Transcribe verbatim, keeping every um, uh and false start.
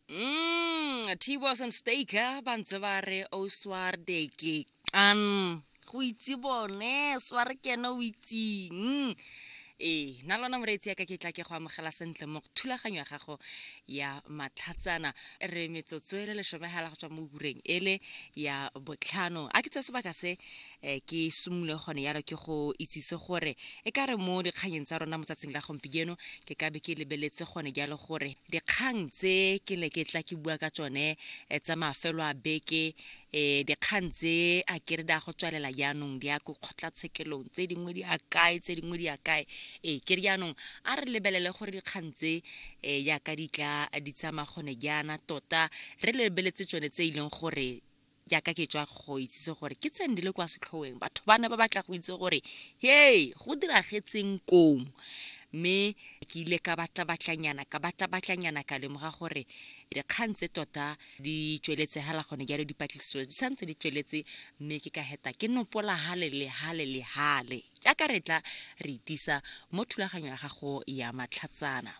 Mm, T-Boss and Staker ba ntse ba re o swarde ke an go itse bone sware ke ene o itseng. Ee, nna lona moreetsi yaka ke tla ke go amogela sentle mo thulaganyo ya gago ya Matlhatsana. Re metsotso e le lesomegala go tswa mo ureng ele ya botlhano. A ke tsa sebaka se um ke simolole gone yalo ke go itsise gore e ka re mo dikganyeng tsa rona mo tsatsing la gompieno ke ka be ke lebeletse gone jalo gore dikgang tse ke ne ke tla ke bua ka tsone eh, tsa mafelo a beke, um dikgang tse a kere di a go tswelela jaanong di ya ko kgotlatshekelong, tse dingwe di a kae, tse dingwe di a kae. Ee, ke re jaanong a re lebelele gore dikgang tse um jaaka di tla di tsamaya gone jaana, tota re lebeletse tsone tse e leng gore jaaka ke tswa go itsise gore ke tsene di le kwa setlhoeng, batho ba ne ba batla go itse gore hei go diragetseng kong. Mme ke ile ka batla-batlanyana ka batla-batlanyana ka lemoga gore dikgang tse tota di tsweletse hela gone jalo, dipatlisiso di santse di tsweletse, mme ke ka heta ke nopola hale le hale le hale jaaka re tla re itisa mo thulaganyo ya gago ya Matlhatsana.